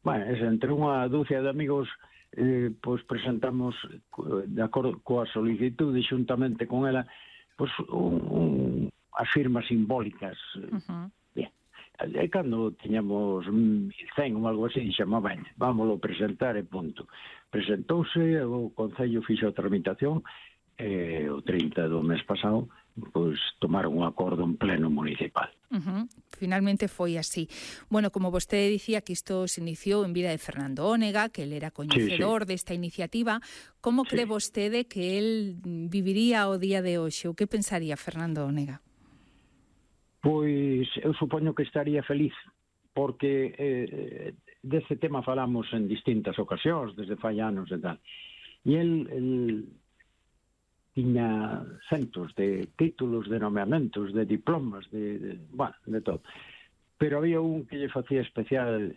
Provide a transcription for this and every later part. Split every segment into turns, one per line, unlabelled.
Bueno, entre unha dúcia de amigos pois presentamos de acordo coa solicitude xuntamente con ela pois as firmas simbólicas. Bien. E cando tiñamos 100 ou algo así, dixemos, vámoslo presentar e punto. Presentouse, o Concello fixo a tramitación e o 30 do mes pasado pois tomaron un acordo en pleno municipal.
Finalmente foi así. Bueno, como vostede dicía que isto se iniciou en vida de Fernando Ónega, que ele era coñecedor desta iniciativa, como cree vostede que el viviría o día de hoxe? O que pensaría Fernando Ónega?
Pois eu supoño que estaría feliz, porque deste tema falamos en distintas ocasións, desde fai anos e tal. E el tiña centos de títulos, de nomeamentos, de diplomas, de todo. Pero había un que lle facía especial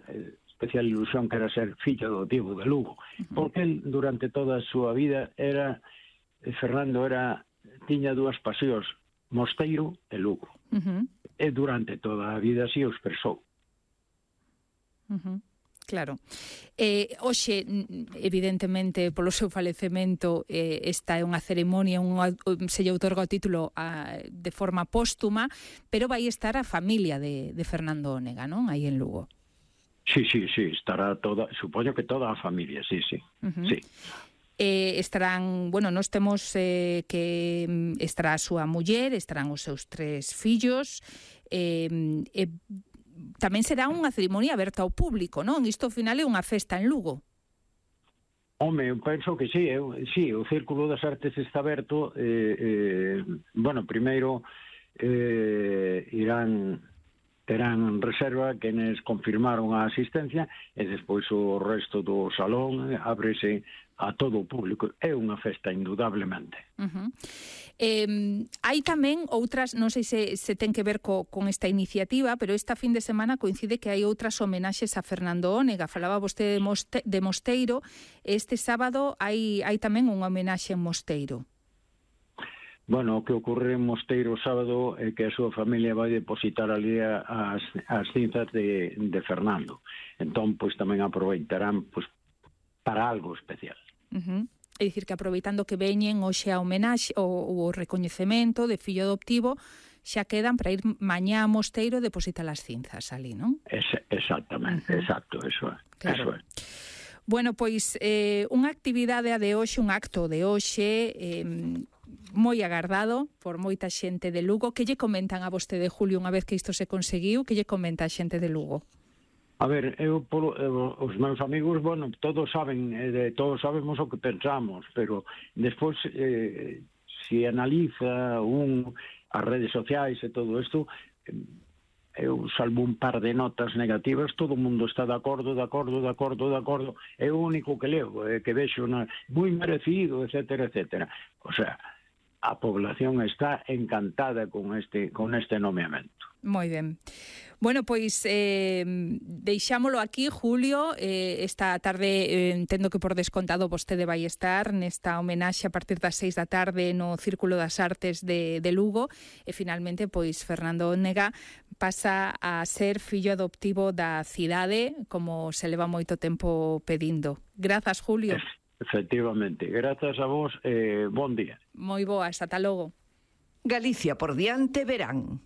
ilusión, que era ser fillo adoptivo de Lugo, porque el, durante toda a súa vida, Fernando tiña dúas pasións, Mosteiro e Lugo. E durante toda a vida así o expresou.
Claro. Hoxe, evidentemente, polo seu falecemento, esta é unha ceremonia, se lle outorga o título de forma póstuma, pero vai estar a familia de Fernando Ónega, non? Aí en Lugo.
Sí, estará toda, supoño que toda a familia, sí.
Estarán, nos temos que estará a súa muller, estarán os seus 3 fillos, tamén será unha ceremonia aberta ao público, non? Isto ao final é unha festa en Lugo.
Home, eu penso que sí, o Círculo das Artes está aberto. Primeiro terán reserva quenes confirmaron a asistencia e despois o resto do salón ábrese a todo o público. É unha festa, indudablemente.
Hai tamén outras, non sei se ten que ver con esta iniciativa, pero esta fin de semana coincide que hai outras homenaxes a Fernando Ónega. Falaba vostede de Mosteiro. Este sábado hai tamén unha homenaxe en Mosteiro.
Bueno, o que ocorre en Mosteiro o sábado é que a súa familia vai depositar ali as cinzas de Fernando. Entón, pois tamén aproveitarán para algo especial.
É dicir, que aproveitando que veñen hoxe a homenaxe o recoñecemento de fillo adoptivo, xa quedan para ir mañá a Mosteiro e depositar as cinzas ali, non?
Exactamente, exacto, eso é.
Claro. Bueno, pois unha actividade de hoxe, un acto de hoxe moi agardado por moita xente de Lugo. Que lle comentan a vostede, Julio, unha vez que isto se conseguiu? Que lle comenta a xente de Lugo?
A ver, os meus amigos, todos sabemos o que pensamos, pero despois, se analiza as redes sociais e todo isto, eu salvo un par de notas negativas, todo o mundo está de acordo, é o único que leo, que vexo moi merecido, etcétera. O sea, a población está encantada con este nomeamento.
Moi ben. Bueno, pois deixámolo aquí, Julio. Esta tarde entendo que por descontado vostede vai estar nesta homenaxe a partir das 6 da tarde no Círculo das Artes de Lugo, e finalmente pois Fernando Ónega pasa a ser fillo adoptivo da cidade, como se leva moito tempo pedindo. Grazas, Julio.
Efectivamente, grazas a vos, bon día.
Moi boas, ata logo.
Galicia por diante verán.